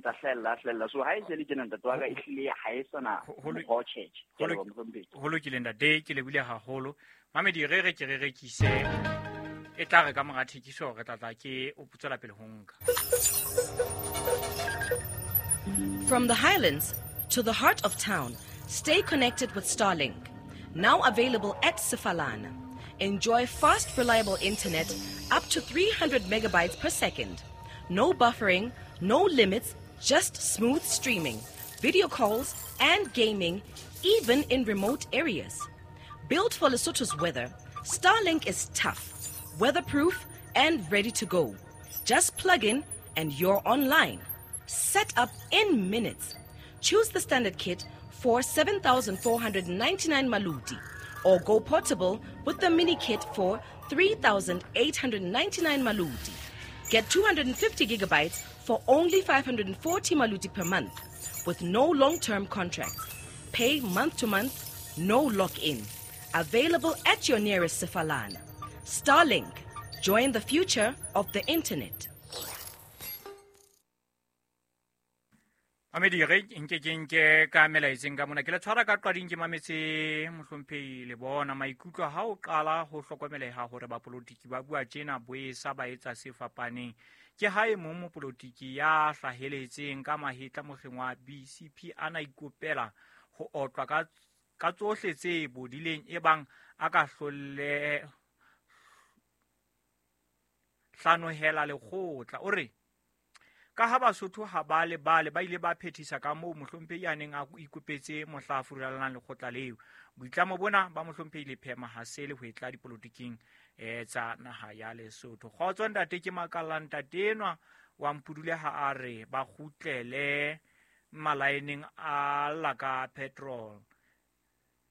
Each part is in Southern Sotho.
ntsa hlahella so ha e se le tjena ntate wa ka e hlile ha e sana go church. Ho lokile ntate, ke lebile haholo. Mamedi re re ke re rekise e tla re ka mora thekiso re tla tla ke o tswela pele ho nka. From the Highlands to the heart of town, stay connected with Starlink. Now available at Sefalana. Enjoy fast, reliable internet up to 300 megabytes per second. No buffering, no limits, just smooth streaming, video calls, and gaming, even in remote areas. Built for Lesotho's weather, Starlink is tough, weatherproof, and ready to go. Just plug in and you're online. Set up in minutes. Choose the standard kit for 7,499 maluti or go portable with the mini kit for 3,899 maluti. Get 250 gigabytes for only 540 maluti per month with no long-term contracts. Pay month to month, no lock-in. Available at your nearest Sefalana. Starlink. Join the future of the internet. Mamedi re nke ke nke ka melaetseng ka mona ke le tshwara ka qading ke mametse mohlomphehi le bona maikutlo ha o qala ho hlokomeleha hore bapolotiki ba bua tjena boesa ba etsa se fapaneng. Ke ha e mong mopolotiki ya hlaheletseng ka mahetla mokgeng wa BCP a na ikopela ho otlwa ka tsohle tse bodileng e bang a ka hlolle hlanohela lekgotla. O re ka ha Basotho ha ba le bale ba ile ba phethisa ka moo mohlomphehi a neng a ikopetse mohla a furallang lekgotla leo. Boitlamo bona ba mohlomphehi Lephema ha se le ho etla dipolotiking tsa naha ya Lesotho. Kgotso ntate, ke makalla ntate enwa wa Mpudule ha a re ba kgutlele malaeneng a lla ka petrol.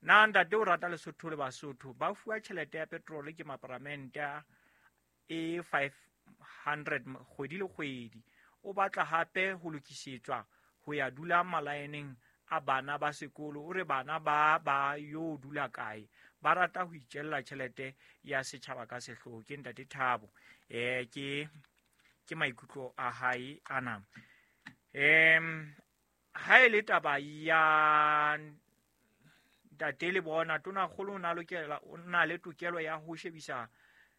Na ntate o rata Lesotho le Basotho ba fuwa tjhelete ya petrol ke maparamente e 500 kgwedi le kgwedi. O batla hape ho lokisetswa ho ya dula malaeneng a bana ba sekolo. O re bana ba yo dula kae? Ba rata ho itjella tjhelete ya setjhaba ka sehloho. Ke ntate Thabo. Ke maikutlo a hae ana. Ha e le taba ya ntate le bona tona kgolo o na lokela o na le tokelo ya ho shebisa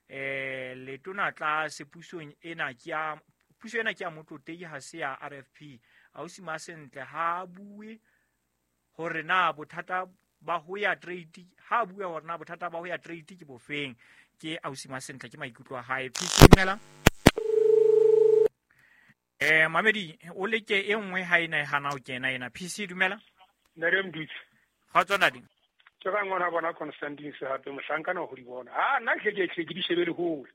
letona tlase pusong ena ke ya puso ena ke ya motlotlehi ha se ya RFP. Ausi Masentle ha bue hore na bothata ba ho ya trade, ha bue hore na bothata ba ho ya trade ke bofeng. Ke ausi Masentle, ke maikutlo a hae. Phimela Mamedi o leke e nngwe ha ena e hana ho kena ena. PC dumela. Nare Mdutsi. Kgotso nadi. Ke ba ngwana bona Constantine hape mohlankana ho di bona. Ha nna ke ke di shebele hole.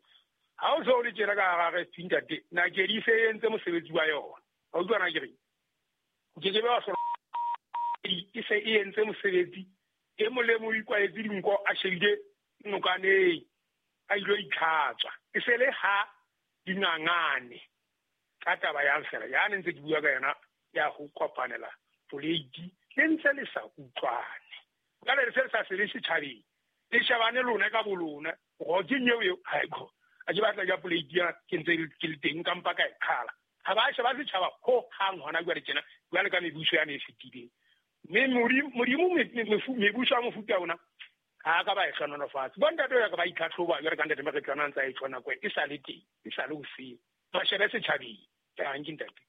Ha o so le tjena ka hara RFP ntate, na ke di se entse mosebetsi wa yona. Ha o utlwa na ke re? Ke ke ba so e se e entse mosebetsi e molemo o ikwaetse dinko a shebile nokaneng a ilo itlhatswa. E se le ha dingangane ka taba ya fela ya ne ntse ke bua ka yona ya ho kopanela poleiti le ntse le sa utlwane. Ka le se sa se setjhabeng le shebane lona ka bolona go ke nyeo eo ha go a ke batla ya poleiti ya ke ntse ke le teng ka mpa ka e qhala. Ha ba sheba setjhaba ho hang hona jwale tjena jwale ka mebuso ya ne e fetileng. Mme Modimo mebuso ya mofuta ona ha ka ba e hlononofatse. Bo ntate ya ka ba itlhatlhoba jwale ka ntate Maretlwana ntse a e tshwana nako e sa le teng e sa le hoseng. Ba shebe setjhabeng. Ke ntate.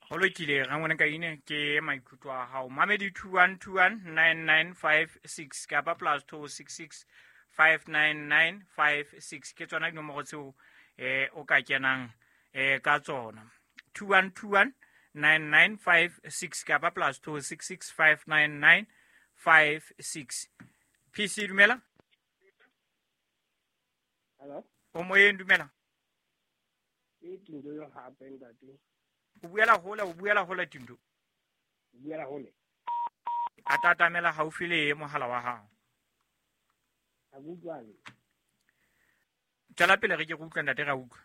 Ho lokile rangwane ka ine ke maikutlo a hao. Mamedi 21219956 kapa +266 59956 ke tsona dinomoro tseo o ka kenang ka tsona. 21219956 kapa +266 59956. PC dumela. Hello. O moyeng dumela. Ke Tindo yo hape ntate. O buela hole Tindo. O buela hole. A tatamela haufi le mohala wa hao. A utlwane. Tswela pele re ke go utlwa ntate ra utlwa.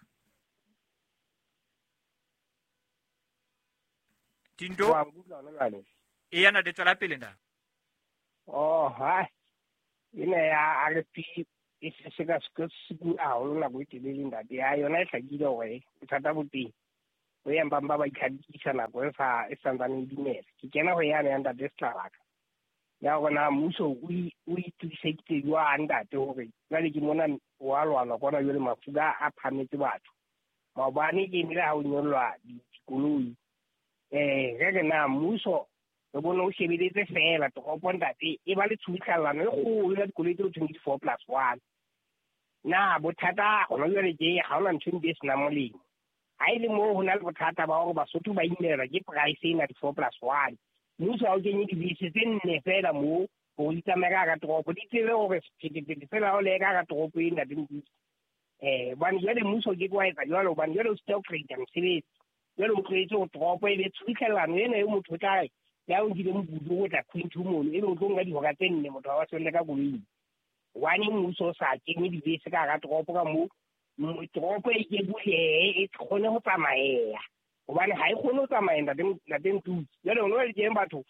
Tindo. Wa utlwa jwale. E yana de tswela pele nda. Oh, ha. Ena ya RFP e se ka se ku a holo nako e telele ntate. Ya yona e hlakile hore bothata bo teng. O yang ba ba itlhadisa nako e sa e santsane e dumela. Ke kena ho yane ya ntate Setlabaka. Ya hore na mmuso o itokiseditse jwang ntate hore jwale ke mona wa lwana kwana jwale mafura a phametse batho. Maobane ke nile ha o nyollwa dikoloi. Re re na mmuso re bone o shebeletse feela toropo ntate e ba le tshubuhlellano e kgolo ya dikoloi tse ho thweng ke 4+1. Na bothata gona jwale ke ha hona ntho e senang molemo. Ha e le moo ho na le bothata ba hore Basotho ba imelwa ke price ena di 4+1. Mmuso ha o kenye dibese tse nne feela moo hore di tsamaye ka hara toropo, di tsebe hore sephethephethe fela ha o le ka hara toropo e ntate Motutsi. Hobane jwale mmuso o ke ke wa etsa jwalo, hobane jwale o sita ho create mosebetsi. Jwale o tlohetse hore toropo e be tshubuhlellano ena eo motho o tla re ya o nkile mokutu o tla Quinto mono, ebe o tlo nka dihora tse nne motho ha wa selle ka koloing. Hobane mmuso o sa kenye dibese ka hara toropo ka moo, toropo e ke bulehe, e kgone ho tsamaea. Hobane ha e kgone ho tsamaya ntate Motutsi. Jwale hona le teng batho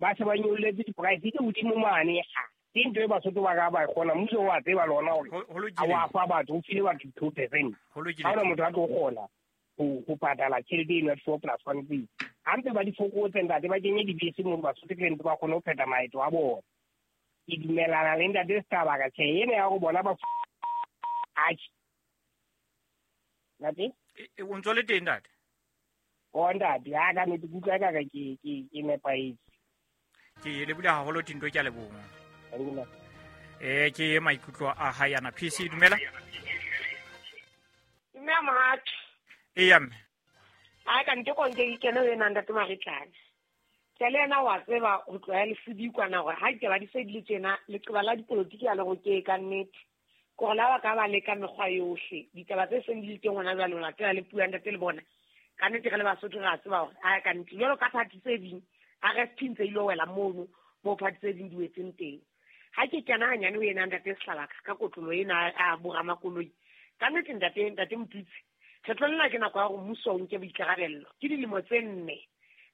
ba se ba nyolletse di-price tse hodimo mane. Ke ntho e Basotho ba ka ba e kgona. Mmuso wa tseba le ona hore ha wa fa batho, o file batho 2%. Ha hona motho a tlo kgona ho patala tjhelete eno ya 4+1 tseo. Ha ntse ba di fokotse ntate, ba kenye dibese moo Basotho ke ntse ba kgone ho phetha maeto a bona. Ke dumellana le ntate Setlabaka, tjhe ena ya hore bona ba atjhe. Ntate? O ntso le teng ntate? O ntate, ha ka nnete ke utlwa ekare ke nepahetse. Ke lebohile haholo Tinto, ke a leboha. Ke maikutlo a hae ana. PC dumela. Dumela mohato. Eya mme. Ha ka nte konke ke kene ho ena ntate Maritlane. Ke le yena wa tseba ho tloha lesedi kwana hore ha ditaba di se di le tjena, leqeba la dipolotiki a le roke ka nnete. Ke hore la ba ka ba leka mekgwa yohle. Ditaba tse seng di le teng hona jwale, o latela le puo ya ntate le bona. Ka nnete re le Basotho re a tseba hore ha ka nnete jwalo ka party tse ding, RFP ntse ile wela mono moo party tse ding di wetseng teng. Ha ke kena hanyane ho ena ntate Setlabaka ka kotlolo ena a boramakoloi. Ka nnete ntate Motutsi, kgetlong lena ke nako ya hore mmuso o nke boikarabello. Ke dilemo tse nne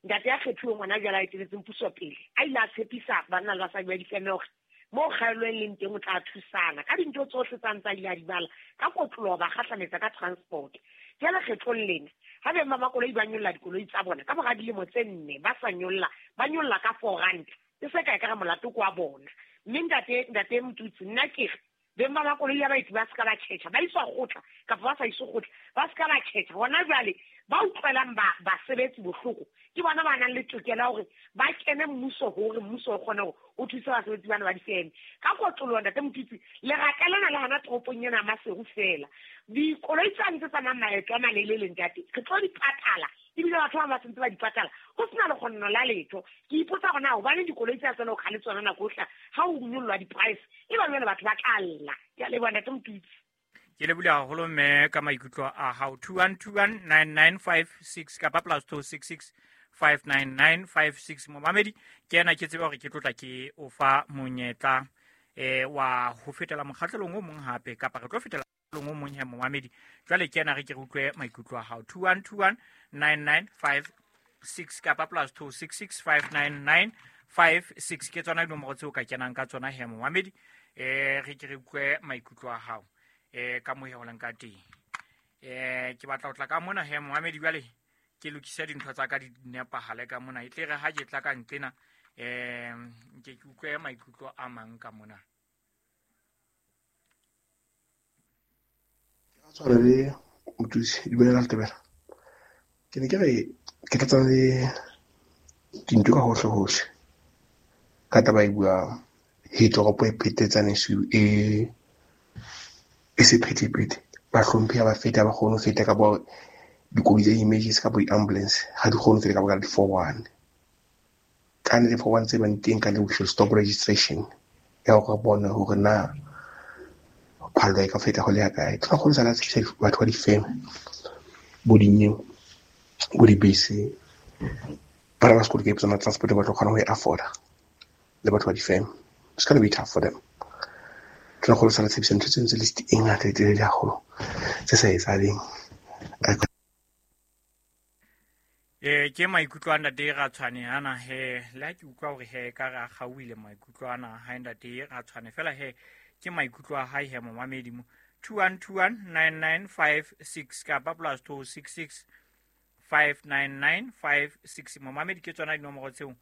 ntate ya kgethuweng hona jwale a eteletseng puso pele, a ile a tshepisa banna le basadi ba difeme hore moo kgaello e leng teng o tla thusana ka dintho tsohle tsa ntse a ile a di bala ka kotloloho ba kgahlametsa ka transport. Jwale kgetlong lena ha beng ba makoloi ba nyolla dikoloi tsa bona ka mora dilemo tse nne ba sa nyolla, ba nyolla ka 4 rand. E se ka ekare molato ke wa bona. Mme ntate Motutsi, nna ke re beng ba makoloi ya baeti ba se ka ba tjhetjha, ba iswa kgotla kapa ba sa iswe kgotla, ba se ka ba tjhetjha. Hona jwale ba utlwelang basebetsi bohloko ke bona ba nang le tokelo ya hore ba kene mmuso hore mmuso o kgone hore o thuse basebetsi bana ba difeme. Ka kotloloho ntate Motutsi, leraka lena le hona toropong ena ya Maseru feela. Dikoloi tsane tse tsamayang maeto a malelele ntate, re tlo di patala, ebile batho ba bang ba sentse ba di patala ho sena lekgonno la letho. Ke ipotsa hore na hobane dikoloi tse tsena ho kgale tsona nako yohle ha ho nyollwa di-price, e ba jwale batho ba tla lla. Ke a leboha ntate Motutsi. Ke lebohile haholo mme ka maikutlo a hao. 21219956 kapa +266 59956. Momamedi ke ena ke tsebe hore ke tlotla ke o fa monyetla wa ho fetela mokgahlelong o mong hape, kapa re tlo fetela mokgahlelong o mong he momamedi. Jwale ke ena re ke re utlwe maikutlo a hao. 21219956 kapa +266 59956 ke tsona dinomoro tseo ka kenang ka tsona he momamedi. Re ke re utlwe maikutlo a hao ka moo he o leng ka teng. Ke batla ho tla ka mona he momamedi, jwale ke lokise dintho tsa ka di nepahale ka mona, e tle re ha ke tla ka nqena nke ke utlwe maikutlo a mang ka mona. Tshwana le Motutsi, dumela Letebela. Ke ne ke re ke tlatsa le dintho ka hohle hohle ka taba e buang he toropo e phetetsane e sephethephethe. Bahlomphehi ha ba feta, ha ba kgone ho feta ka bo dikoloi tsa emergency kapa di-ambulance ha di kgone ho feta ka baka la di-4-1. Ka nnete 4-1 tse bang teng ka le we should stop registration ya hore re bone hore na phallo e ka feta ho le ya kae. Tla kgone sala tshepisa batho ba difeme, bo dinyeo, bo dibese, bana ba sekolo ke tsona transport ba tlo kgona ho e afforda le batho ba difeme. It's gonna be tough for them. Tla kgone sala tshepisa ntho tse ntse list e ngata e telele haholo tse sa etsahaleng. Ke maikutlo a ntate Ratshwane ana he, le ha ke utlwa hore he ka re a kgaohile maikutlo ana ha ntate Ratshwane, fela he ke maikutlo a hae he momamedi mo. 21219956 kapa +266 599 56. Momamedi, ke tsona dinomoro tseo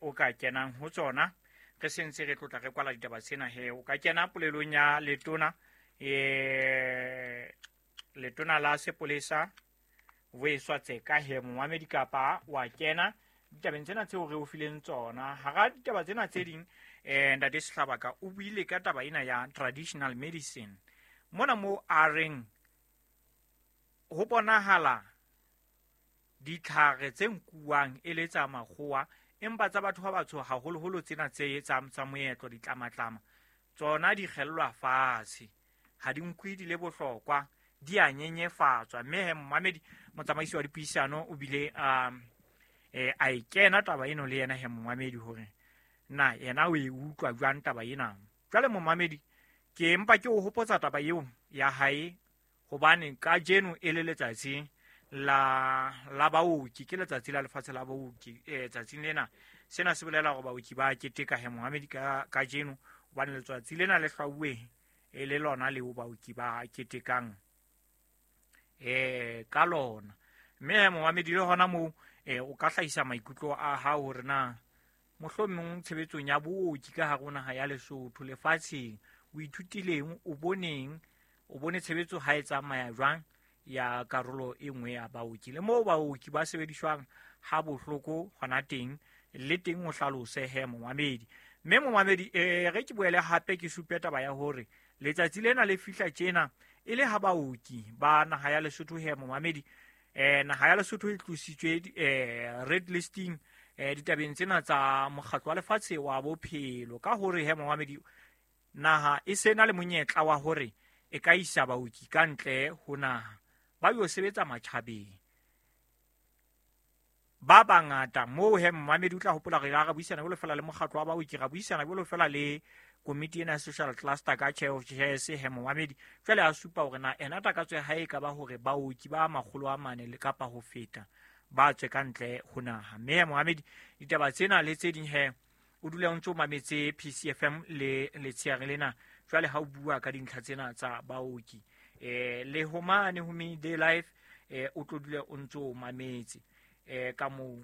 o ka kenang ho tsona. Re sentse re tlotla re kwala ditaba tsena he. O ka kena polelong ya letona, letona la sepolesa Vuyiswa Tseka he momamedi, kapa wa kena ditabeng tsena tseo re o fileng tsona. Hara ditaba tsena tse ding, ntate Sehlabaka o buile ka taba ena ya traditional medicine mona mo a reng ho bonahala ditlhare tse nkuwang e le tsa makgowa, empa tsa batho ba batsho haholoholo tsena tse tsa moetlo, ditlamatlama tsona di kgellwa fatshe, ha di nkwe di le bohlokwa, di a nyenyefatswa. Mme he momamedi, motsamaisi wa dipuisano o bile a e kena taba eno le yena he momamedi, hore na yena o e utlwa jwang taba ena. Jwale momamedi, ke mpa ke o hopotsa taba eo ya hae, hobane kajeno e le letsatsi la baoki, ke letsatsi la lefatshe la baoki. Tsatsing lena sena se bolela hore baoki ba keteka he momamedi kajeno, hobane letsatsi lena le hlwauwe e le lona leo baoki ba ketekang ka lona. Mme momamedi, le hona moo o ka hlahisa maikutlo a hao hore na mohlomong tshebetsong ya booki ka hare ho naha ya Lesotho, lefatsheng, o ithutileng, o boneng, o bone tshebetso ha e tsamaya jwang ya karolo e nngwe ya baoki, le moo baoki ba sebediswang ha bohloko hona teng, le teng o hlalose he momamedi. Mme momamedi, re ke boele hape ke supe taba ya hore letsatsi lena le fihla tjena e le ha baoki ba naha ya Lesotho he momamedi, naha ya Lesotho e tlositswe red listing ditabeng tsena tsa mokgatlo wa lefatshe wa bophelo, ka hore he momamedi, naha e sena le monyetla wa hore e ka isa baoki ka ntle ho naha ba yo sebetsa matjhabeng ba bangata. Moo he momamedi, o tla hopola re ra buisana jwalo fela le mokgatlo wa baoki, ra buisana jwalo fela le komiti ena ya social cluster ka chair of chairs he momamedi. Jwale a supa hore na ena takatso ya hae e ka ba hore baoki ba 400 le kapa ho feta ba tswe ka ntle ho naha. Mme momamedi, ditaba tsena le tse ding he o dula o ntse o mametse PCFM le letsheare lena. Jwale ha o bua ka dintlha tsena tsa baoki, le ho mane ho Midday Life, o tlo dula o ntse o mametse ka moo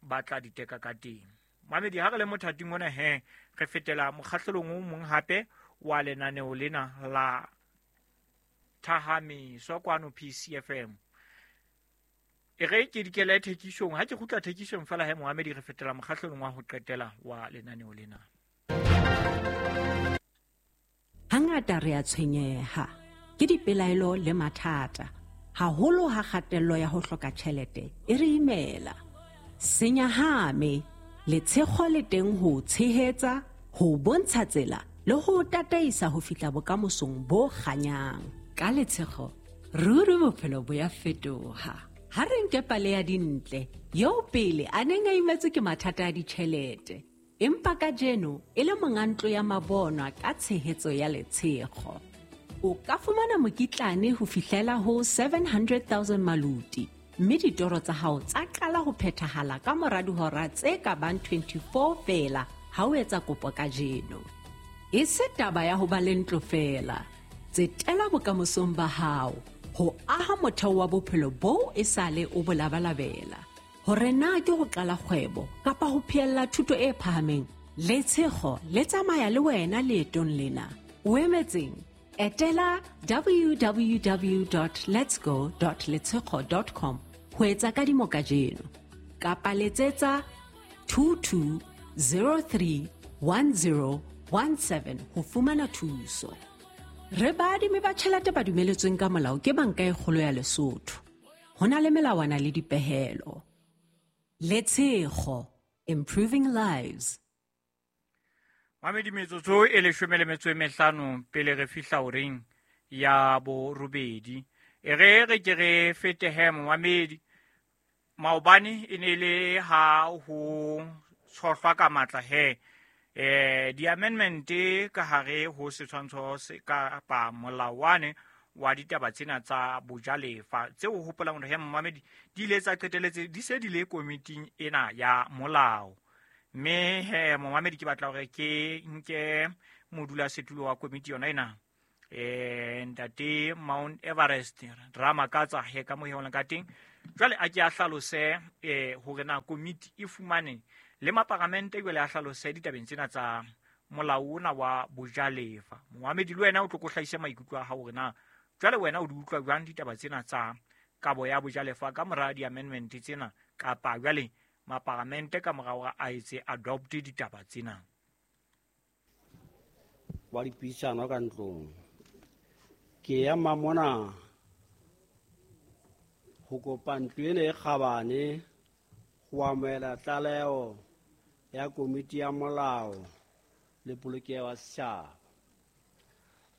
ba tla diteka ka teng. Mamedi, ha re le mothating ona he, re fetela mokgahlelong o mong hape wa lenaneo lena la Thahamiso kwano PCFM. E re ke dikele thekisong, ha ke kgutla thekisong fela he momamedi, re fetela mokgahlelong wa ho qetela wa lenaneo lena. Hangata re a tshwenyeha ke dipelaelo le mathata, haholo ha kgatello ya ho hloka tjhelete e re imela. Senyahame, letshego le teng ho tshehetsa, ho bontsha tsela le ho tataisa ho fihla bokamosong bo kganyang. Ka letshego, ruri bophelo bo ya fetoha. Ha re nke pale ya Dintle, eo pele a neng a imetswe ke mathata a ditjhelete, empa kajeno e le monga ntlo ya mabonwa ka tshehetso ya letshego. O ka fumana mokitlane ho fihlela ho 700,000 maluti, mme ditoro tsa hao tsa qala ho phethahala ka mora dihora tse ka bang 24 feela ha o etsa kopo kajeno. E se taba ya ho ba le ntlo feela, tsetela bokamosong ba hao, ho aha motheo wa bophelo boo e sale o bo labalabela. Hore na ke ho qala kgwebo kapa ho phehella thuto e phahameng, letshego le tsamaya le wena leetong lena. O emetseng? Etela www.letsgo.letshego.com ho etsa kadimo kajeno, kapa letsetsa 22031017 ho fumana thuso. Re baadimi ba tjhelete ba dumeletsweng ka molao ke Banka e Kgolo ya Lesotho. Ho na le melawana le dipehelo. Letshego, improving lives. Mamedi, metsotso e 15 pele re fihla horeng ya borobedi. E re re ke re fete he momamedi, maobane e ne le ha ho tshohlwa ka matla he di-amendment ka hare ho setshwantsho se kapa molawane wa ditaba tsena tsa bojalefa tseo o hopolang hore he momamedi di ile tsa qeteletse di se di le komiting ena ya molao. Mme he momamedi, ke batla hore ke nke modulasetulo wa komiti yona ena, ntate Mount Everest Ramakatsa he ka mo heolang ka teng. Jwale a ke a hlalose hore na komiti e fumane le maparamente jwale a hlalose ditabeng tsena tsa molao ona wa bojalefa. Moamedi le wena o tlo ko hlahisa maikutlo a hao hore na jwale wena o di utlwa jwang ditaba tsena tsa kabo ya bojalefa ka mora di-amendment tsena, kapa jwale maparamente ka mora hore a etse adopt ditaba tsena. Wa dipuisano ka ntlong ke ya mamona ho kopa ntlo ena e kgabane ho amohela tlaleho ya komiti ya molao le polokeho ya setjhaba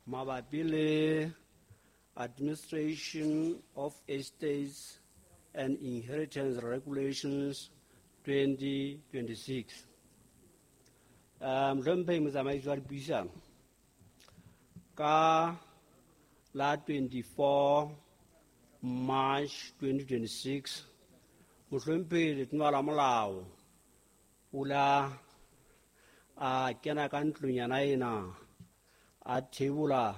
mabapi le Administration of Estates and Inheritance Regulations 2026. Mohlomphehi motsamaisi wa dipuisano, ka la 24 March 2026 mohlomphehi letona la molao o la a kena ka ntlong yana ena a thebola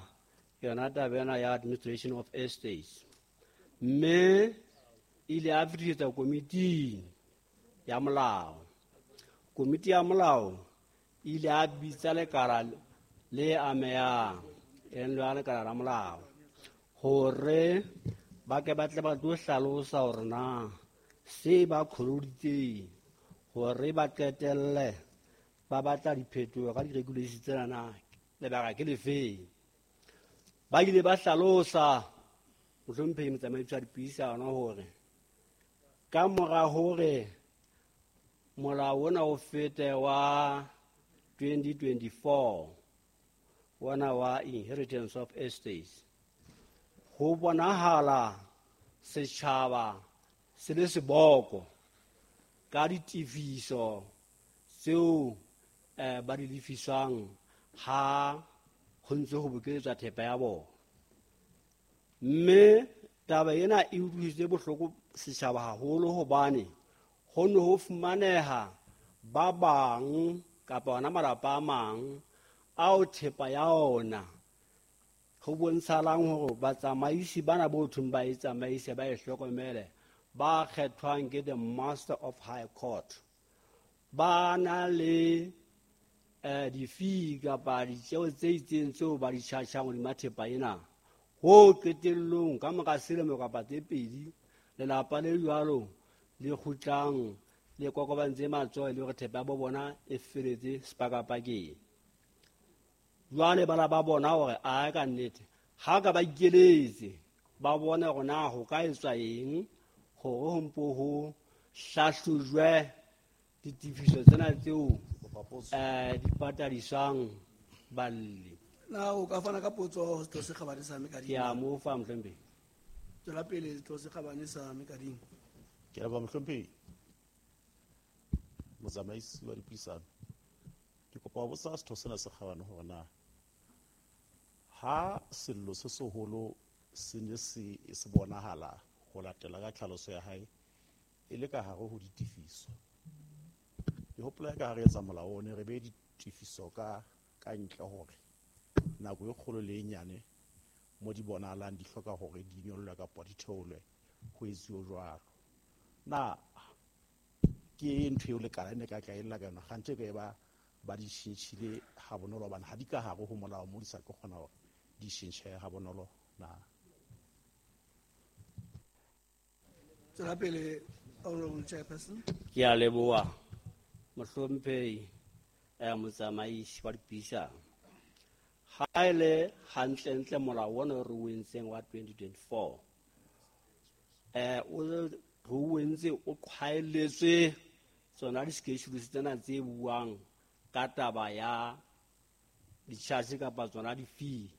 yona taba ena ya Administration of Estates, mme ile a fetisetsa komiting ya molao. Komiti ya molao ile a bitsa lekala le amehang, e leng lona lekala la molao, hore ba ke ba tle ba tlo hlalosa hore na se ba kholoditseng hore ba qetelle ba batla diphetoho ka di-regulations tsena na lebaka ke lefeng. Ba ile ba hlalosa mohlomphehi motsamaisi wa dipuisano hore ka mora hore molao ona o fete wa 2024 ona wa Inheritance of Estates, ho bonahala setjhaba se le seboko ka ditefiso tseo ba di lefiswang ha ho ntse ho bokeletswa thepa ya bona. Mme taba ena e utlwisitse bohloko setjhaba haholo hobane ho ne ho fumaneha ba bang kapa ona malapa a mang ao thepa ya ona ho bontshalang hore batsamaisi bana bo thong ba e tsamaise ba e hlokomele ba kgethwang ke the Master of High Court ba na le di-fee kapa ditjeo tse itseng tseo ba di charge-ang hodima thepa ena. Ho qetellong ka mora selemo kapa tse pedi lelapa le jwalo le kgutlang le kokobantse matsoho e le hore thepa ya bo bona e feletse sepakapakeng. Jwale bana ba bona hore a ka nnete ha ka ba ikeletse ba bone hore na ho ka etswa eng hore ho mpo ho hlahlojwe ditefiso tsena tseo di patadiswang balli. Na o ka fana ka potso ho Setho se Kgabane sa Mekading? Ke a mo fa mohlomphehi. Tswela pele Setho se Kgabane sa Mekading. Ke a leboha mohlomphehi motsamaisi wa dipuisano. Ke kopa ho botsa setho sena se kgabane hore na ha sello se seholo se ne se bonahala ho latela ka tlhaloso ya hae e le ka hare ho ditefiso. Ke hopola ka hare etsa molao one re be ditefiso ka ntle hore nako e kgolo le e nyane mo di bonahalang di hloka hore di nyollwe kapa di theolwe ho etsuwe jwalo. Na ke ntho eo lekala e ne ka tla ella ka yona kganthe ka e ba di tjhentjhile ha bonolo hobane ha di ka hare ho molao mo di sa tlo kgona hore di tjhentjhe ha bonolo na. Tswela pele Honorable Chairperson. Ke a leboha mohlomphehi motsamaisi wa dipuisano. Ha e le hantlentle molao ona re o entseng wa 2024 o re o entse o qhwaeletswe tsona di-schedules tsena tse buang ka taba ya di-charge kapa tsona di-fee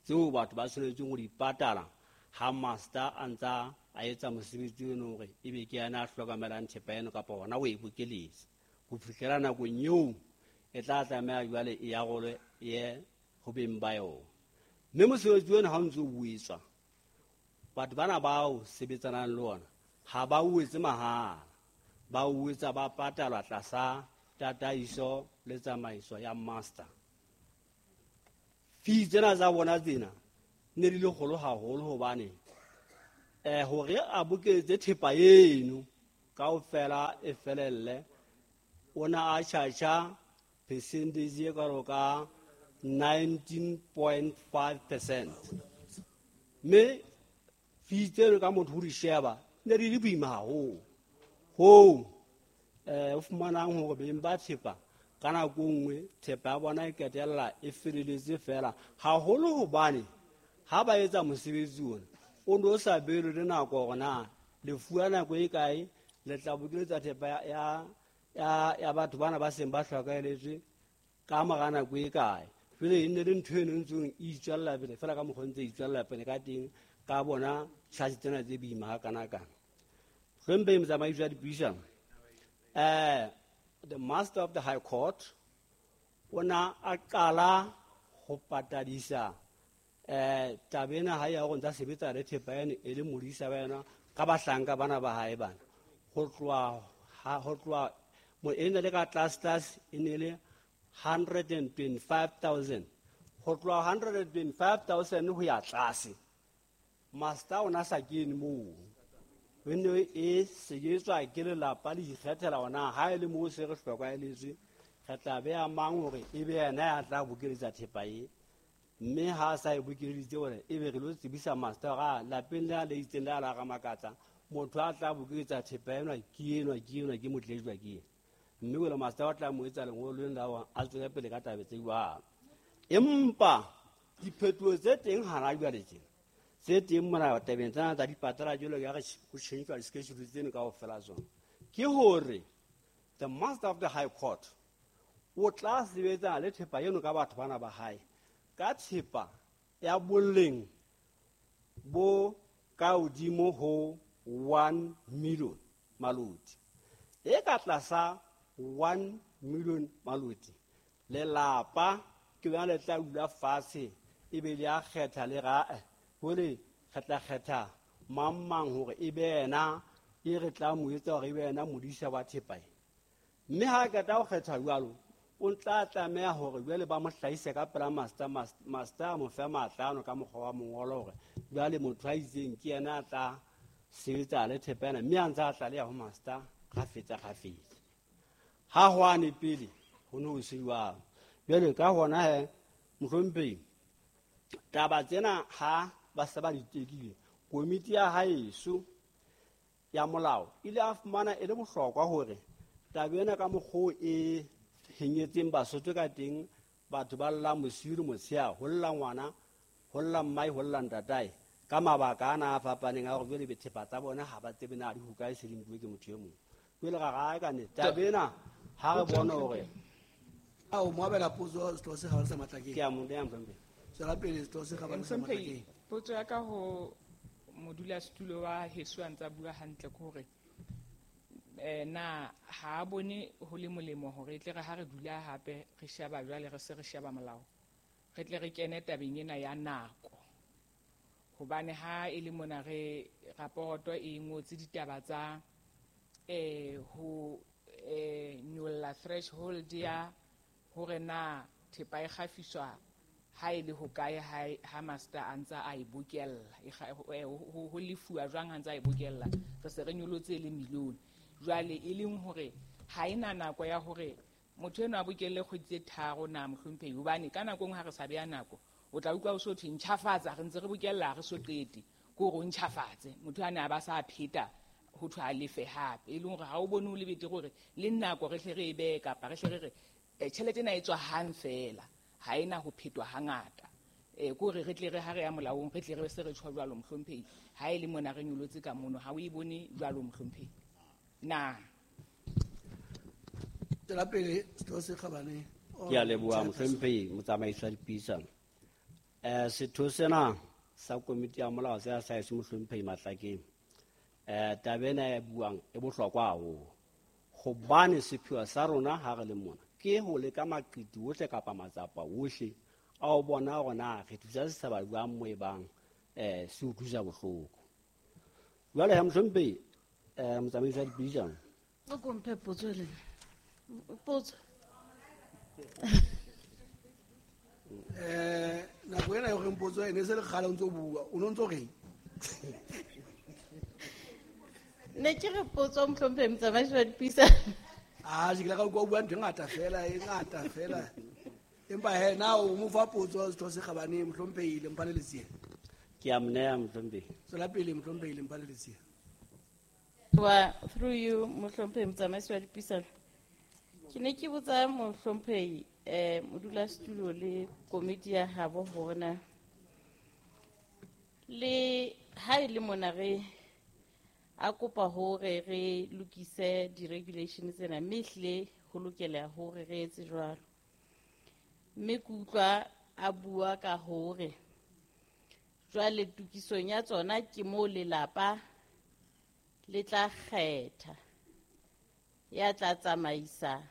tseo batho ba tshwanetseng ho di patala ha master a ntsa a etsa mosebetsi ono hore ebe ke yena a hlokomelang thepa eno kapa ona o e bokeletse ho fihlela nakong eo e tla tlameha jwale e arolwe ye ho beng ba yona. Mme mosebetsi ona ha o ntse o etswa, batho bana bao sebetsanang le ona ha ba o etse mahala, ba o etsa ba patalwa tlasa tataiso le tsamaiso ya master. Fee tsena tsa bona tsena ne di le kgolo haholo hobane Hore a bokeletse thepa eno kaofela e felelle, o na a charge percentage e kalo ka 19.5%. Mme fees tseno ka motho ho di sheba ne di le boima haholo hoo o fumanang hore beng ba thepa ka nako nngwe thepa ya bona e qetella e feleletse fela, haholo hobane ha ba etsa mosebetsi ona o ne o sa behelwe le nako hore na le fuwa nako e kae le tla bokeletsa thepa ya batho bana ba seng ba hlokahelletswe ka mora nako e kae. Jwale e nne le ntho eno e ntseng e itswella pele fela ka mokgwa o ntse e itswella pele ka teng ka bona charge tsena tse boima hakanakana. Hlomphehi motsamaisi wa dipuisano, the master of the high court o na a qala ho patadisa taba ena ha ya hore ntsa sebetsa le thepa eno e le modisa wa yona ka bahlanka bana ba hae bana. Ho tloha mo e ne le ka tlase e ne le 125,000. Ho tloha 125,000 ho ya tlase, master o na sa kene moo. E ne e sebetswa ke lelapa le ikgethela hona ha e le moo se re hlokahelletswe, re tla beha mang hore e be yena ya tla bokeletsa thepa e. Mme ha a sa e bokeleditse hore e be re lo tsebisa master hore a lapeng le a le itseng le a la Ramakatsa, motho a tla bokeletsa thepa enwa ke enwa, ke enwa, ke motlejwa ke ena. Mme jwale master o tla mo etsa lengolo lena la hore a tswele pele ka taba tse jwalo. Empa diphetoho tse teng hana jwale tjena, tse teng mona tabeng tsena tsa dipatala jwalo ka re ho tjhentjhwa di-schedule tseno kaofela tsona, ke hore the master of the high court o tla sebetsana le thepa eno ka batho bana ba hae ka thepa ya boleng bo ka hodimo ho 1 million maloti. E ka tlasa 1 million maloti, lelapa ke lona le tla dula fatshe e be le a kgetha le ra hore re tla kgetha mang mang hore e be yena e re tla mo etsa hore e be yena modisa wa thepa e. Mme ha a qeta ho kgetha jwalo, o tla tlameha hore jwale ba mo hlahise ka pela master, master a mo fe matla ano ka mokgwa wa mongolo hore jwale motho a itseng ke yena a tla sebetsa le thepa ena, mme a ntse a tlaleha ho master kgafetsa kgafetsa. Ha hwane pele ho ne ho se jwalo. Jwale ka hona he, mohlomphehi, taba tsena ha ba se ba di tekile, komiti ya haeso ya molao e ile a fumana e le bohlokwa hore taba ena ka mokgwa e henyetseng Basotho ka teng, batho ba llang bosiu le motshehare, ho lla ngwana, ho lla mmae, ho lla ntatae, ka mabaka ana a fapaneng a hore jwale thepa tsa bona ha ba tsebe na di hokae, se di nkuwe ke motho e mong. Jwale ra ra ka nnete taba ena ha re bone hore a o mo abela potso setho se kgabane sa Matlakeng. Ke a mo neha, mohlomphehi. Tswela pele, setho se kgabane sa Matlakeng. Potso ya ka ho modulasetulo wa heso a ntsa bua hantle ke hore na ha a bone ho le molemo hore e tle re ha re dula hape re sheba jwale re se re sheba molao, re tle re kene tabeng ena ya nako, hobane ha e le mona re raporoto e ngotse ditaba tsa ho nyolla threshold ya hore na thepa e kgafiswa ha e le hokae ha master a ntsa a e bokella, ho lefuwa jwang ha ntsa a e bokella, re se re nyolotse le million. Jwale e leng hore ha ena nako ya hore motho enwa a bokelle kgwedi tse tharo na mohlomphehi, hobane ka nako e nngwe ha re sa beha nako o tla utlwa o so thwe ntjhafatsa, re ntse re bokella ha re so qete, ke hore o ntjhafatse motho a ne a ba sa pheta ho thwe a lefe hape, e leng hore ha o bone ho le betere hore le nako re hle re e behe, kapa re hle re re tjhelete ena e tswa hang fela, ha ena ho phetwa hangata. Ke hore re tle re ha re ya molaong re tle re se re tjho jwalo mohlomphehi, ha e le mona re nyolotse ka mono, ha o e bone jwalo mohlomphehi na? Tswela pele, setho se kgabane. Ke a leboha mohlomphehi motsamaisi wa dipuisano. Setho sena sa komiti ya molao se sa heso mohlomphehi Matlakeng, taba ena e buang e bohlokwa haholo, hobane sepheo sa rona ha re le mona ke ho leka maqiti ohle kapa matsapa ohle a ho bona hore na re thusa setjhaba jwang mo e bang se utlwisa bohloko. Jwale ha mohlomphehi motsamaisi wa dipuisano, o ko mphe potso le potso. Nako ena e horeng potso e ne se le kgale o ntso bua, o no ntso reng? Ne ke re potso mohlomphehi motsamaisi wa dipuisano. A ke la ka utlwa o bua ntho e ngata fela, e ngata fela. Empa he na o mo fa potso Setho se Kgabane mohlomphehi Lemphane Letsie. Ke a mo neha mohlomphehi. Tswela pele mohlomphehi Lemphane Letsie. Wa through you mohlomphehi motsamaisi wa dipuisano. Ke ne ke botsa mohlomphehi modulasetulo le komiti ya habo hore na le ha e le mona re a kopa hore re lokise di-regulation tsena, mme ehlile ho lokela hore re etse jwalo. Mme ke utlwa a bua ka hore jwale tokisong ya tsona ke moo lelapa le tla kgetha ya tla tsamaisa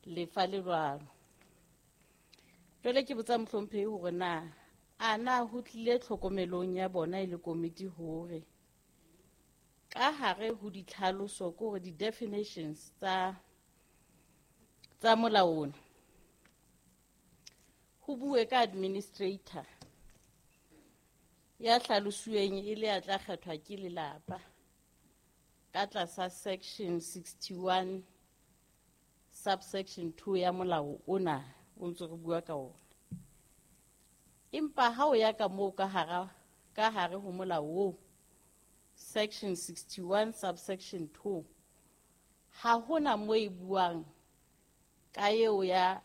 lefa le jwalo. Jwale ke botsa mohlomphehi hore na a na ho tlile tlhokomelong ya bona e le komiti hore ka hare ho ditlhaloso ke hore di-definitions tsa molao ona ho bue ka administrator ya hlalosuweng e le ya tla kgethwa ke lelapa ka tlasa section 61 subsection 2 ya molao ona o ntse re bua ka ona. Empa ha o ya ka moo ka hare ho molao oo section 61 subsection 2 ha hona mo e buang ka eo ya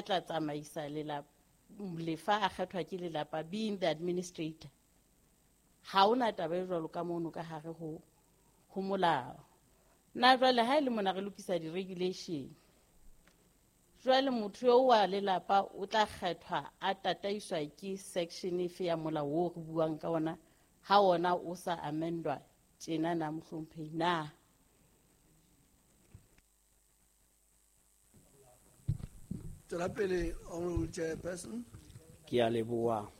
tla tsamaisa lelapa lefa a kgethwa ke lelapa being the administrator. Ha hona taba e jwalo ka mono ka hare ho molao. Na jwale ha e le mona re lokisa di-regulation, jwale motho eo wa lelapa o tla kgethwa a tataiswa ke section efe ya molao oo re buang ka ona ha ona o sa amendwa tjena na mohlomphehi na? Tswela pele honorable chairperson. Ke a leboha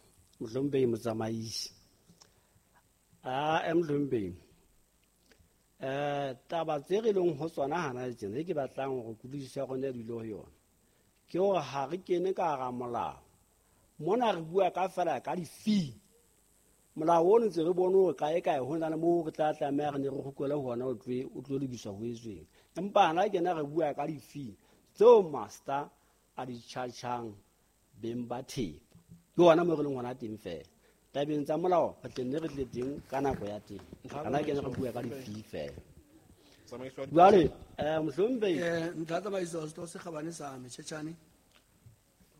mohlomphehi motsamaisi. A mohlomphehi taba tse re leng ho tsona hana tjena ke batlang hore kutlwisiso ya rona e dule ho yona ke hore ha re kene ka hara molao mona re bua ka fela ka di-fee. Molao ono ntse re bone hore kae kae ho na le moo re tla tlameha re ne re kgutlele hona o tlo lokiswa ho etsweng, empa hana kena re bua ka di-fee tseo master a di charge-ang beng ba thepa. Ke hona moo re leng hona teng fela. Tabeng tsa molao re tle nne re tle teng ka nako ya teng. Hana kena re bua ka di-fee fela. Jwale mohlomphehi ntlha tsamaiso Setho se Kgabane sa Motjhetjhane.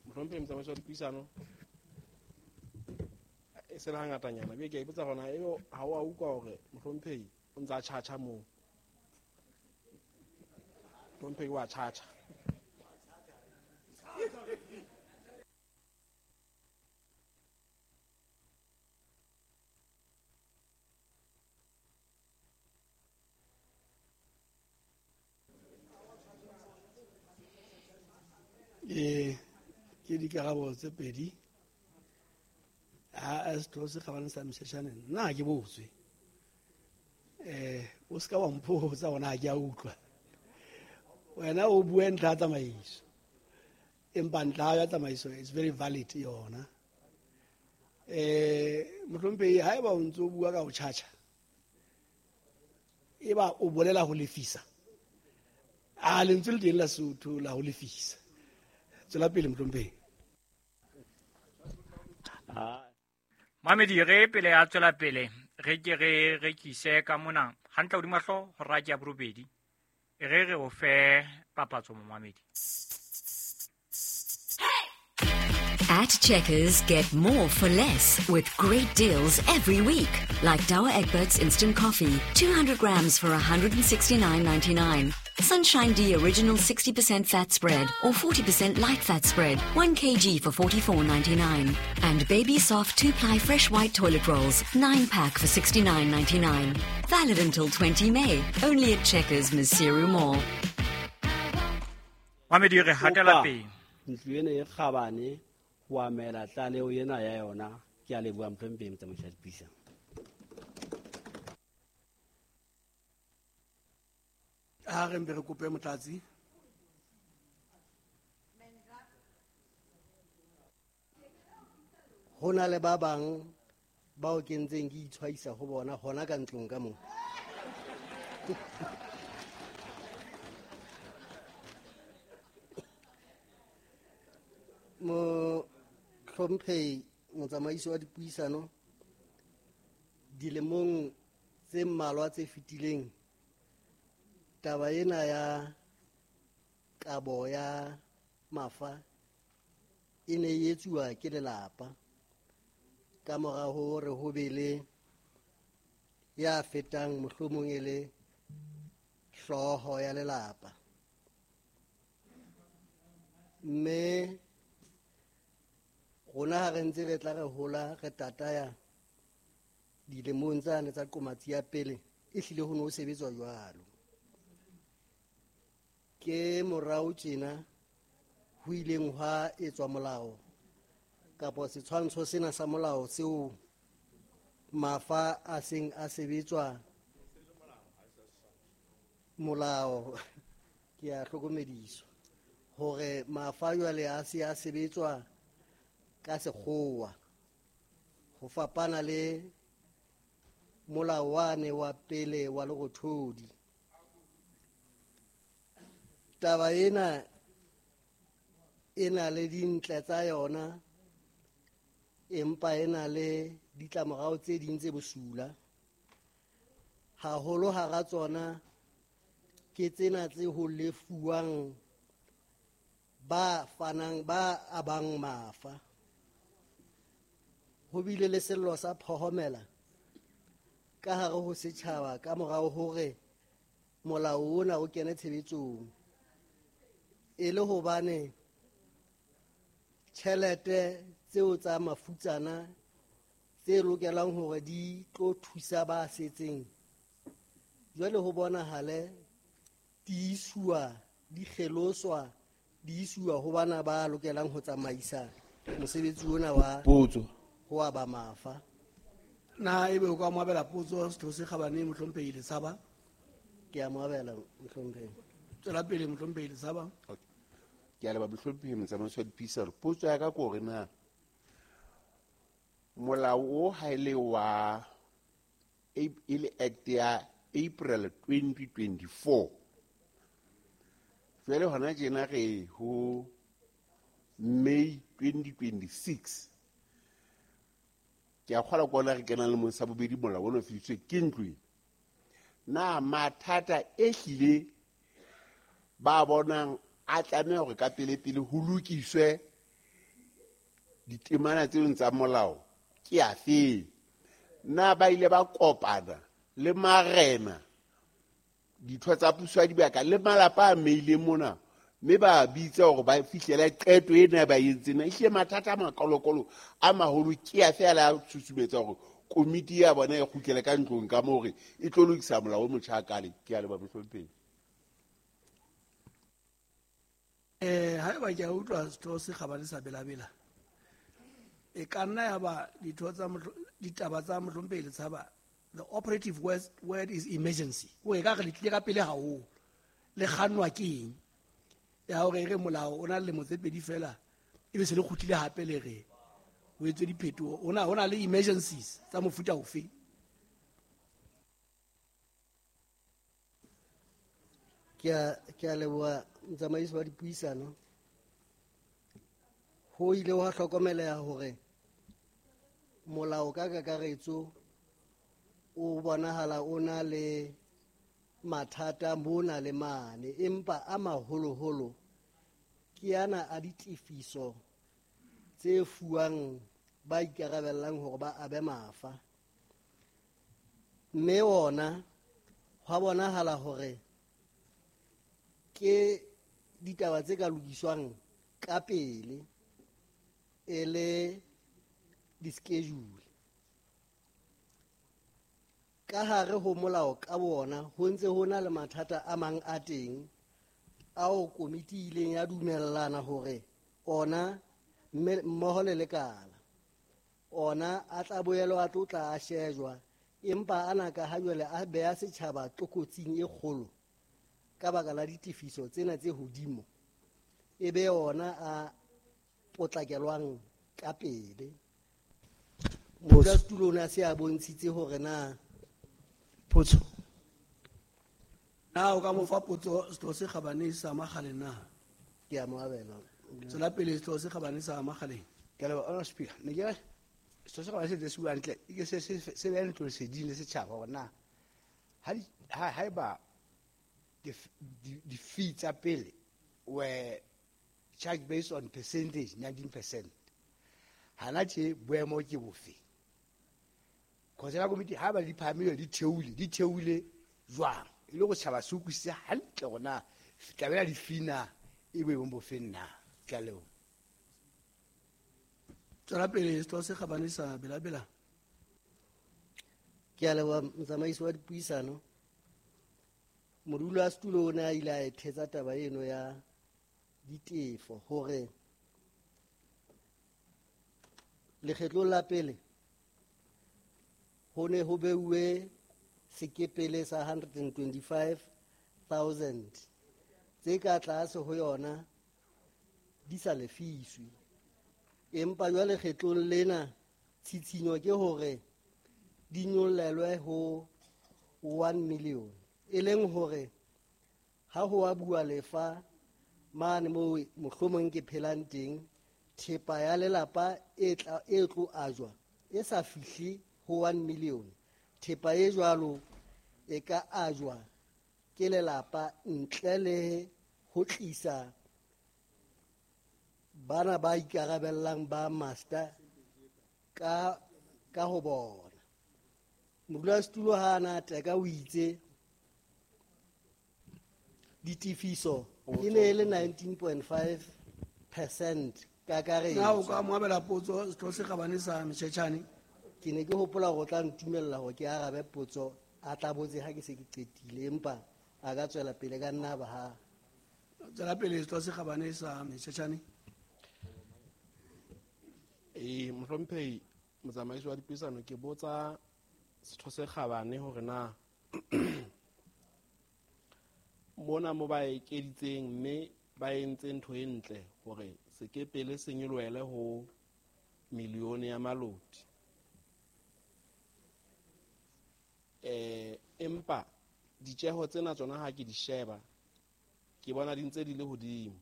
Mohlomphehi motsamaisi wa dipuisano e se le hangatanyana be ke a ipotsa hore na ebe ha o a utlwa hore mohlomphehi o ntse a tjhatjha moo. Mohlomphehi wa tjhatjha. Ke dikarabo tse pedi. Ha Setho se Kgabane sa Motjhetjhane nna ha ke botswe. O ska wa mpotsa hona ha ke a utlwa. Wena o bue ntlha ya tsamaiso. Empa ntlha ya tsamaiso is very valid yona. Mohlomphehi haeba o ntso bua ka ho tjhatjha eba o bolela ho lefisa. A lentswe le teng la Sotho la ho lefisa. Tswela pele mohlomphehi. Mamedi re pele a tswela pele re ke re rekise ka mona hantle hodima hlooho hora ke ya borobedi re o fe papatso momamedi. At Checkers, get more for less with great deals every week. Like Douwe Egberts Instant Coffee, 200 grams for 169.99. Sunshine D Original 60% fat spread or 40% light fat spread, 1 kg for 44.99. And Baby Soft 2-ply fresh white toilet rolls, 9-pack for 69.99. Valid until 20 May, only at Checkers, Maseru Mall. Mamedi re hatela pele. Ntlo ena e kgabane ho amela tlaleho ena ya yona. Ke a leboha mohlomphehi motsamaisi wa dipuisano. Ha re mpe re kope motlatsi. Ho na le ba bang bao ke ntseng ke itshwaisa ho bona hona ka ntlong ka moo. Mohlomphehi motsamaisi wa dipuisano, dilemong tse mmalwa tse fetileng taba ena ya kabo ya mafa e ne e etsuwa ke lelapa ka mora hore ho be le ya fetang mohlomong e le hlooho ya lelapa. Mme rona ha re ntse re tla re hola re tataya dilemong tsane tsa qomatsi ya pele, e hlile ho ne ho sebetswa jwalo. Ke morao tjena ho ileng hwa etswa molao kapa setshwantsho sena sa molao seo mafa a seng a sebetswa molao, ke a hlokomediswa hore mafa jwale a se a sebetswa ka sekgowa ho fapana le molao wane wa pele wa Lerothodi. Taba ena e na le dintle tsa yona, empa e na le ditlamorao tse ding tse bosula. Haholo hara tsona ke tsena tse ho lefuwang ba fanang ba abang mafa. Ho bile le sello sa phohomela ka hare ho setjhaba ka morao hore molao ona o kene tshebetsong, e le hobane tjhelete tseo tsa mafutsana tse lokelang hore di tlo thusa ba setseng jwale ho bonahale di iswa, di kgeloswa, di iswa ho bana ba lokelang ho tsamaisa mosebetsi ona wa potso ho aba mafa. Na ebe o ka mo abela potso Setho se Kgabane Mohlomphehi Letshaba? Ke a mo abela Mohlomphehi. Tswela pele Mohlomphehi Letshaba. Ke a leboha Mohlomphehi motsamaisi wa dipuisano. Potso ya ka ke hore na molao o ha e le wa e le act ya April 2024, jwale hona tjena re ho May 2026, ke a kgolwa ke ona re kenang lemong sa bobedi molao ona o fedisitswe ke ntlo ena. Na mathata e hlile ba bonang a tlameha hore ka pele-pele ho lokiswe ditemana tseo tsa molao ke afe? Na ba ile ba kopana le marena, ditho tsa puso ya dibaka le malapa a meileng mona, mme ba bitsa hore ba fihlele qeto ena ba entseng? Ehlile mathata a makolokolo a maholo ke afe a la susumetsa hore komiti ya bona e kgutlele ka ntlong ka moo hore e tlo lokisa molao o motjha kale? Ke a leboha Mohlomphehi. Haeba ke a utlwa Setho se Kgabane sa Belabela, e ka nna ya ba ditho tsa ditaba tsa Mohlomphehi Letshaba, the operative word is emergency. O e ka re le tlile ka pele haholo, le kgannwa ke eng ya hore re molao o na le lemo tse pedi fela ebe se le kgutlile hape le re ho etswe diphetoho? Ho na le emergencies tsa mofuta ofe? Ke a leboha motsamaisi wa dipuisano. Ho ile hwa hlokomeleha hore molao ka kakaretso o bonahala o na le mathata mona le mane, empa a maholoholo ke ana a ditefiso tse fuwang ba ikarabellang hore ba abe mafa. Mme ona hwa bonahala hore ke ditaba tse ka lokiswang ka pele e le di-schedule. Ka hare ho molao ka bona ho ntse ho na le mathata a mang a teng ao komiti ileng ya dumellana hore ona mmoho le lekala ona a tla boela a tlo tla a shejwa, empa ana ka ha jwale a beha setjhaba tlokotsing e kgolo ka baka la ditefiso tsena tse hodimo, e be ona a potlakelwang ka pele. Modulasetulo o ne a se a bontshitse hore na Potso. Na o ka mo fa potso setho se kgabane sa Makgaleng na? Ke a mo abela. Tswela pele setho se kgabane sa Makgaleng. Ke a leboha, Honourable Speaker. Ne ke re setho se kgabane se ntse se bua hantle, e ke se behe ntlo leseding le setjhaba hore na haeba di-fee tsa pele were charged based on percentage, 19%. Hana tje boemo ke bofe? Cause la komiti ha ba di phahamile di theohile jwang? E le go setjhaba se utlwisise hantle hore na taba ya di-fee na e boemong bofeng na? Ke a leboha. Tswela pele setho se kgabane sa Belabela. Ke a leboha motsamaisi wa dipuisano. Modulasetulo o ne a ile a e thetsa taba eno ya ditefo hore lekgetlong la pele ho ne ho beuwe sekepele sa 125,000 tse ka tlase ho yona di sa lefiswe, empa jwale kgetlong lena tshitshinyo ke hore di nyollelwe ho 1 million, e leng hore ha ho a bua lefa mane moo mohlomong ke phelang teng, thepa ya lelapa e tlo ajwa e sa fihle ho 1 million. Thepa e jwalo e ka ajwa ke lelapa ntle le ho tlisa bana ba ikarabellang ba master ka ho bona. Modulasetulo ha ana teka o itse ditefiso e ne e le 19.5% kakaretso. Na o ka mo abela potso setho se kgabane sa Motjhetjhane? Ke ne ke hopola hore o tla ntumella hore ke arabe potso a tla botse ha ke se ke qetile, empa a ka tswela pele ka nna ba ha. Tswela pele setho se kgabane sa Motjhetjhane. Mohlomphehi motsamaisi wa dipuisano, ke botsa setho se kgabane hore na mona mo ba ekeditseng mme ba entse ntho e ntle hore sekepele se nyolohele ho milione ya maloti. Empa ditjeho tsena tsona ha ke di sheba ke bona di ntse di le hodimo,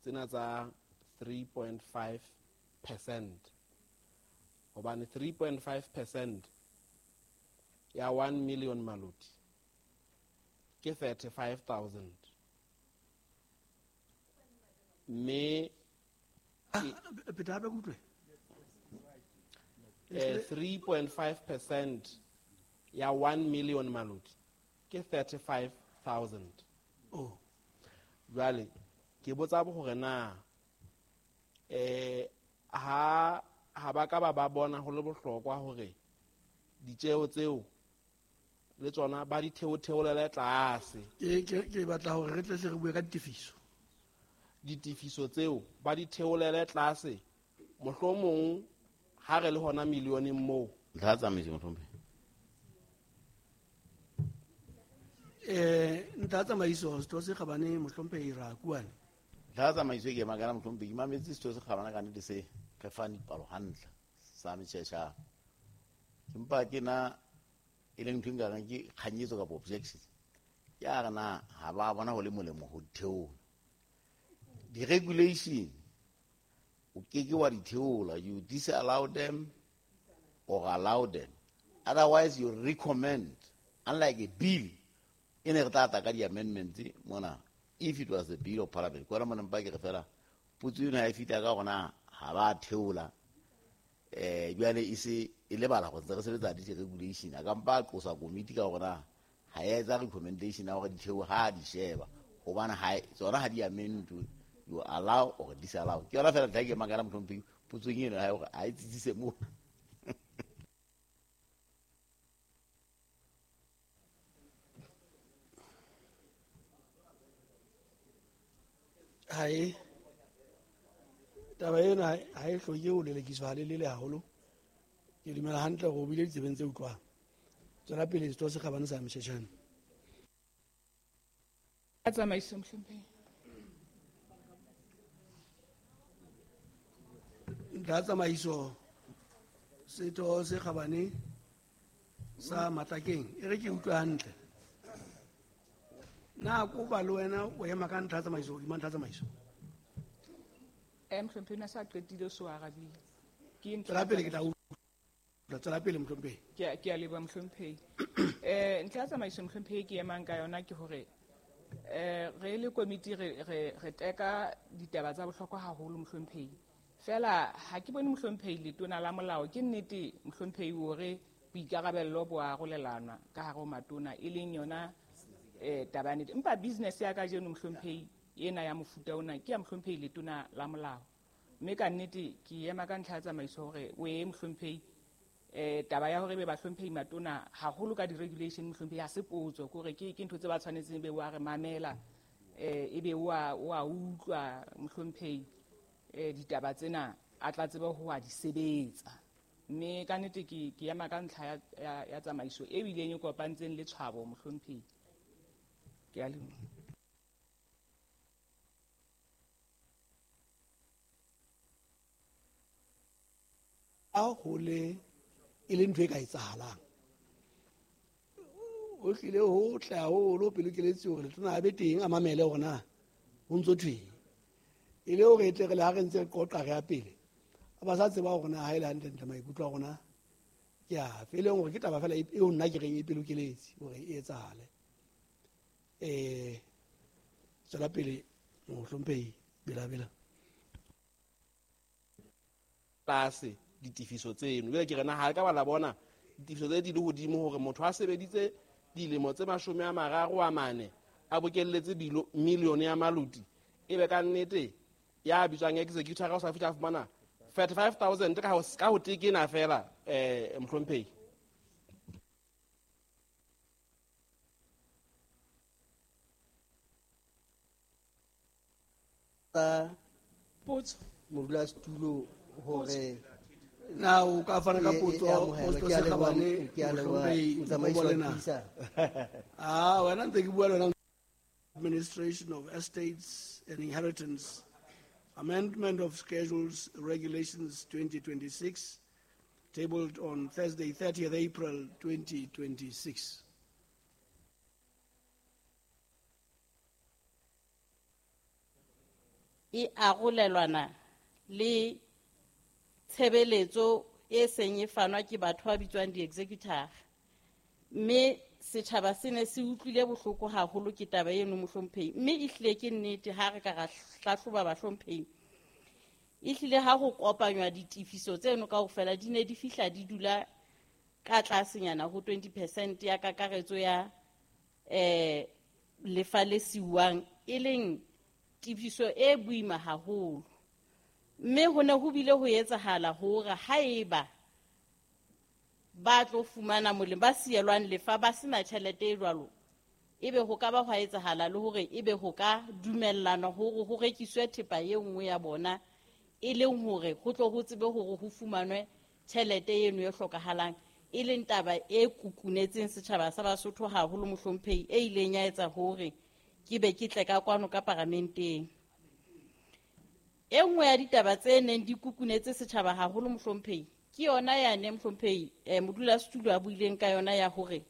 tsena tsa 3.5%, hobane 3.5% ya 1 million maloti ke 35,000. Mme phetha hape ke utlwe. 3.5% ya 1 million maloti ke 35,000. Oh. Jwale ke botsa hore na ha ba ka ba bona ho le bohlokwa hore ditjeho tseo le tsona ba di theotheolele tlase. Ke batla hore re tle re bue ka ditefiso. Ditefiso tseo ba di theolele tlase, mohlomong ha re le hona millioneng moo. Ntlha tsamaiso mohlomphehi. Ntlha tsamaiso setho se kgabane mohlomphehi Rakuane. Ntlha tsamaiso ke makala mohlomphehi, ke mametse setho se kgabane ka nnete se re fang dipalo hantle sa Motjhetjhane. Empa ke na e leng ntho e nkareng ke kganyetso kapa objection. Ke a re na ha ba bona ho le molemo ho theola. Di-regulation o keke wa di theola, you disallow them or allow them. Otherwise you recommend, unlike a bill e ne re tla tla ka di-amendments mona, if it was a bill of parliament. Ke ona mona mpa ke re fela potso eno ha e fihla ka hore ha ba theola, jwale e se e lebala go ntse re sebetsa di-regulation, a ka mpa a qosa komiti ka hore na ha ya etsa recommendation ya hore di theohe ha di sheba, hobane ha tsona ha di amendwe, you allow or disallow. Ke yona fela ntlha e ke makala mohlomphehi potsong eno ya hore ha e tsitsise moo. Hae taba ena ha e hloke ho lelekiswa halelele haholo. Ke dumela hantle hore o bile ditsebeng tse utlwang. Tswela pele setho se kgabane sa Motjhetjhane. Tsamaiso mohlomphehi. Ntlha tsamaiso setho se kgabane sa Matlakeng, e re ke utlwe hantle. Na kopa le wena o ema ka ntlha ya tsamaiso, hodima ntlha ya tsamaiso. Mohlomphehi na sa qetile so arabile. Ke ntlha Tswela pele ke tla utlwa. Tswela pele mohlomphehi. Ke a leboha mohlomphehi. Ntlha ya tsamaiso mohlomphehi ke emang ka yona ke hore re le komiti re teka ditaba tsa bohlokwa haholo mohlomphehi. Fela ha ke bone mohlomphehi letona la molao, ke nnete mohlomphehi hore boikarabello bo arolelanwa ka hare ho matona, e leng yona taba ya nnete. Empa business ya kajeno mohlomphehi ena ya mofuta ona ke ya mohlomphehi letona la molao. Mme ka nnete ke ema ka ntlha ya tsamaiso hore o ye mohlomphehi taba ya hore be bahlomphehi matona haholo ka di-regulation mohlomphehi ha se potso, ke hore ke ntho tse ba tshwanetseng be wa re mamela, ebe wa utlwa mohlomphehi ditaba tsena a tla tsebe ho wa di sebetsa. Mme ka nnete ke ema ka ntlha ya tsamaiso e bileng e kopantseng le tshwabo mohlomphehi. Ke a leboha. A ho le e le ntho e ka etsahalang. O tlile ho tle haholo pelo ke letse hore letona a be teng a mamele hore na ho ntso thweng. E le hore e tle re le ha re ntse re qoqa re ya pele, a ba sa tseba hore na ha e le hantlentle maikutlo a rona ke afe. E leng hore ke taba fela eo nna ke reng e pelo ke letse hore e etsahale. Tswela pele mohlomphehi Bela-Bela. Tlase ditefiso tseno. Jwale ke re na ha ka ba la bona ditefiso tse di le hodimo hore motho a sebeditse dilemo tse 34 a bokelletse milione ya maloti, ebe ka nnete ya bitswang executor ka o sa fihla a fumana 35,000 ka ho tekena fela, mohlomphehi. Potso. Modulasetulo hore na o ka fana ka potso, e potso amohelwe. Ke a se leboha, kgabane, ke a leboha, mohlomphehi motsamaisi Nkobo wa le na. puisano. Wena ntse ke bua le wena. Administration of Estates and Inheritance, Amendment of Schedules Regulations 2026, tabled on Thursday, 30th April 2026. E arolelwana le tshebeletso e seng e fanwa ke batho ba bitswang di-executor. Mme setjhaba se ne se utlwile bohloko haholo ke taba eno mohlomphehi, mme ehlile ke nnete ha re ka ra hlahloba bahlomphehi, ehlile ha ho kopanywa ditefiso tseno kaofela di ne di fihla di dula ka tlasenyana ho 20% ya kakaretso ya lefa le siuwang, e leng tefiso e boima haholo. Mme ho ne ho bile ho etsahala hore haeba ba tlo fumana molemo, ba sielwang lefa ba sena tjhelete e jwalo, ebe ho ka ba hwa etsahala le hore ebe ho ka dumellana hore ho rekiswe thepa e nngwe ya bona, e leng hore ho tlo ho tsebe hore ho fumanwe tjhelete eno e hlokahalang, e leng taba e kukunetseng setjhaba sa Basotho haholo mohlomphehi, e ileng ya etsa hore ke be ke tle ka kwano ka paramenteng. E nngwe ya ditaba tse neng di kukunetse setjhaba haholo mohlomphehi ke yona yane mohlomphehi, modulasetulo a buileng ka yona ya hore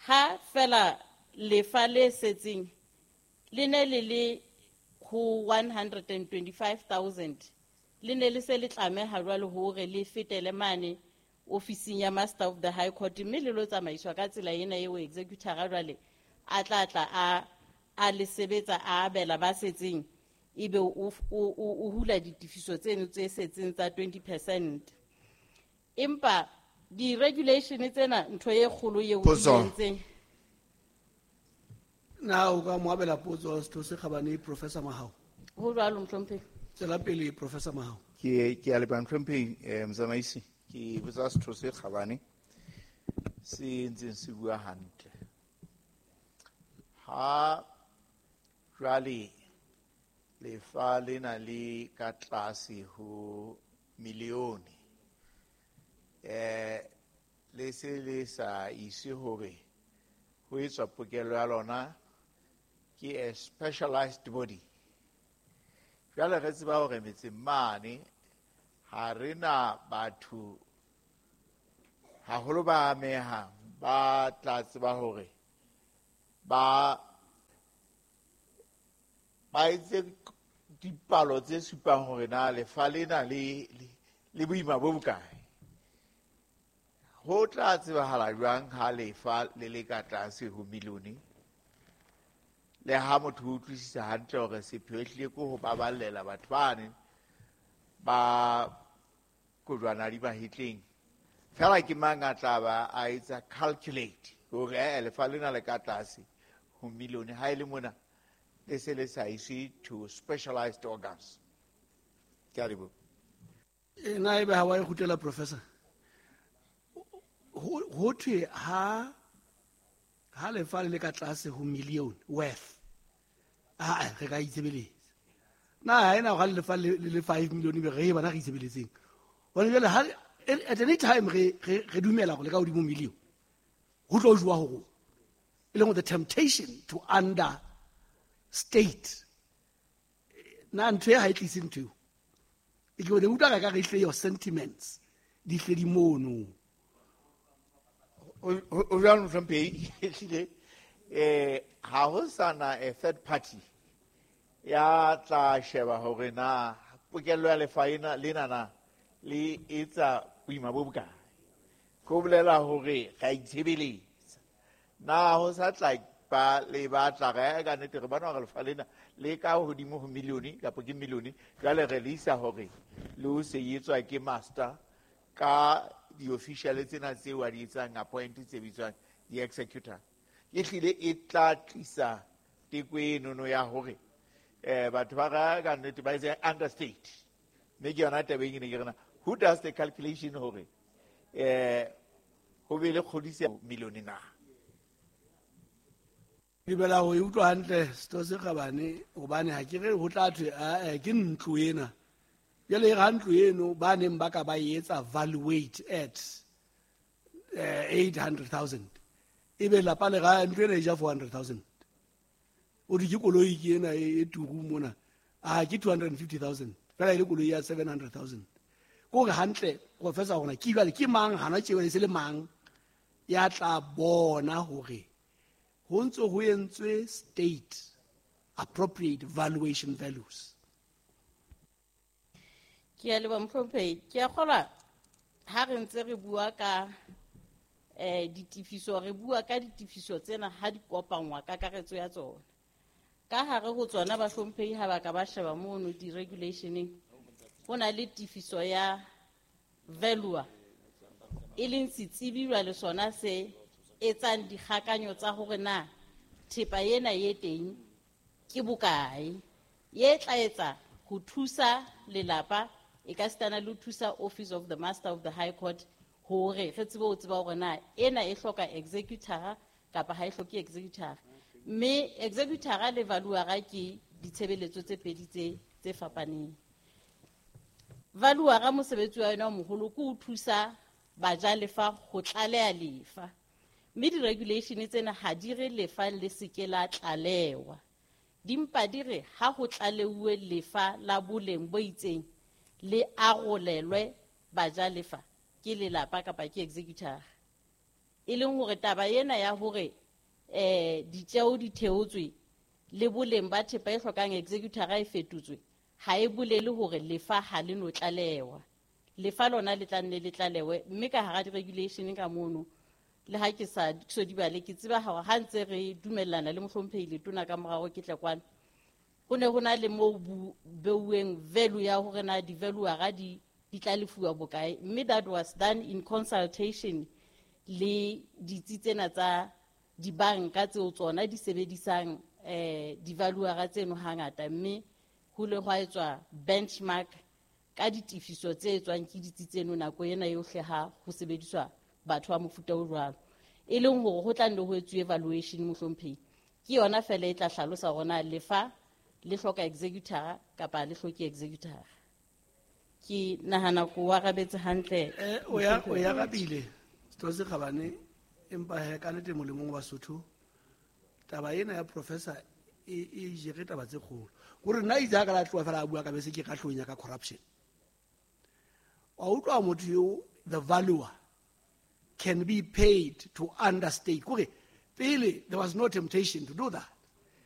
ha fela lefa le setseng le ne le le ho 125,000, le ne le se le tlameha jwale hore le fetele mane ofising ya Master of the High Court, mme le lo tsamaiswa ka tsela ena eo executor jwale a tla tla a le sebetsa a abela ba setseng, ebe o hula ditefiso tseno tse setseng tsa 20%. Empa di-regulation tsena ntho e kgolo eo di Potso. entseng. Na o ka mo abela potso setho se kgabane Professor Mahao? Ho jwalo mohlomphehi. Tswela pele Professor Mahao. Ke a leboha mohlomphehi, motsamaisi. Ke botsa setho se kgabane se ntseng se bua hantle. Ha jwale lefa lena le ka tlase ho milione, le se le sa ise hore ho etswa pokello ya lona ke a specialized body. Jwale re tseba hore metseng mane ha re na batho haholo ba amehang ba tla tseba hore ba Ba etse dipalo tse supang hore na lefa lena le boima bo bokae. Ho tla tsebahala jwang ha lefa le le ka tlase ho milione? Le ha motho o utlwisisa hantle hore sepheo ehlile ke ho baballela batho bane ba kojwana di mahetleng. Fela ke mang a tla ba a etsa calculate hore lefa lena le ka tlase ho milione ha e le mona le se le sa iswe to specialized organs. Ke a leboha. Na ebe ha wa e kgutlela, Professor? Ho thwe ha lefa le le ka tlase ho million worth, a re ka itshebeletsa. Na ha ena ha lefa le le 5 million be re bana re itshebeletseng. Hobane jwale ha at any time re dumela hore le ka hodimo million, ho tlo jowa ho rona. E leng the temptation to understate. Na ntho e ha e tlise ntho eo. E ke bone utlwa ka re hle your sentiments di hle di mono. O jwalo mohlomphehi, ehlile ha ho sana a third party ya tla sheba hore na pokello ya lefa ena lena na le etsa boima bo bokae. Ko bolela hore ra itshebeletsa. Na ho sa tla ba le batla re ka nnete re bona hore lefa lena le ka hodimo ho milione kapa ke milione, jwale re le isa hore le o se etswa ke master ka di-official tsena tseo a di etsang appoint tse bitswang di-executor. Ehlile e tla tlisa teko enono ya hore batho ba ka nnete ba etse understate. Mme ke yona taba e ne ke rena, who does the calculation hore ho be le kgodiso milione na? Dumela ho e utlwa hantle setho se kgabane, hobane ha ke re ho tla thwe ke ntlo ena. Jwale ha ntlo eno ba neng ba ka ba etsa valuate at 800,000, ebe lapa le ga ntlo ena e ja 400,000. O di ke koloi ke ena e turu mona, a ke 250,000 fela e le koloi ya 700,000. Ko re hantle professor hona ke jwale ke mang hana tjeo e se le mang ya tla bona hore ho ntse ho entswe state appropriate valuation values. Ke a leboha mohlomphehi. Ke a kgolwa ha re ntse re bua ka ditefiso, re bua ka ditefiso tsena ha di kopangwa kakaretso ya tsona. Ka hare ho tsona bahlomphehi ha ba ka ba sheba mono di-regulationeng, ho na le tefiso ya valuer, e leng setsebi jwale sona se etsang dikgakanyo tsa hore na thepa ena e teng ke bokae, ye tla etsa ho thusa lelapa e ka sitana le ho thusa Office of the Master of the High Court hore re tsebe ho tseba hore na ena e hloka executor kapa ha e hloke executor. Mme executor le valuer ke ditshebeletso tse pedi tse fapaneng. Valuer mosebetsi wa yona o moholo ke ho thusa bajalefa ho tlaleha lefa. Mme di-regulation tsena ha di re lefa le se ke la tlalewa. Di mpa di re ha ho tlaleuwe lefa la boleng bo itseng le arolelwe bajalefa ke lelapa kapa ke executor. E leng hore taba ena ya hore ditjeo di theotswe le boleng ba thepa e hlokang executor e fetotswe ha e bolele hore lefa ha le no tlalewa. Lefa lona le tla nne le tlalewe, mme ka hara di-regulation ka mono le ha ke sa so di bale ke tseba hore ha ntse re dumellana le mohlomphehi letona ka morao ke tle kwana, ho ne ho na le moo beuweng value ya hore na di-valuer di tla lefuwa bokae, mme that was done in consultation le ditsi tsena tsa dibanka tseo tsona di sebedisang di-valuer tseno hangata, mme ho le hwa etswa benchmark ka ditefiso tse etswang ke ditsi tseno nako ena yohle ha ho sebediswa batho ba mofuta o jwalo. E leng hore ho tla nne ho etsuwe evaluation mohlomphehi, ke yona fela e tla hlalosa hore na lefa le hloka executor kapa le hloke executor. Ke nahana ko o arabetse hantle. O ya arabile setho se kgabane, empa he ka nnete molemong wa Basotho taba ena ya professor e jere taba tse kgolo. Kore nna itse ha ka la tloha fela a bua ka bese ke ka hlonya ka corruption. Wa utlwa motho eo, the valuer can be paid to understate. Kore pele there was no temptation to do that.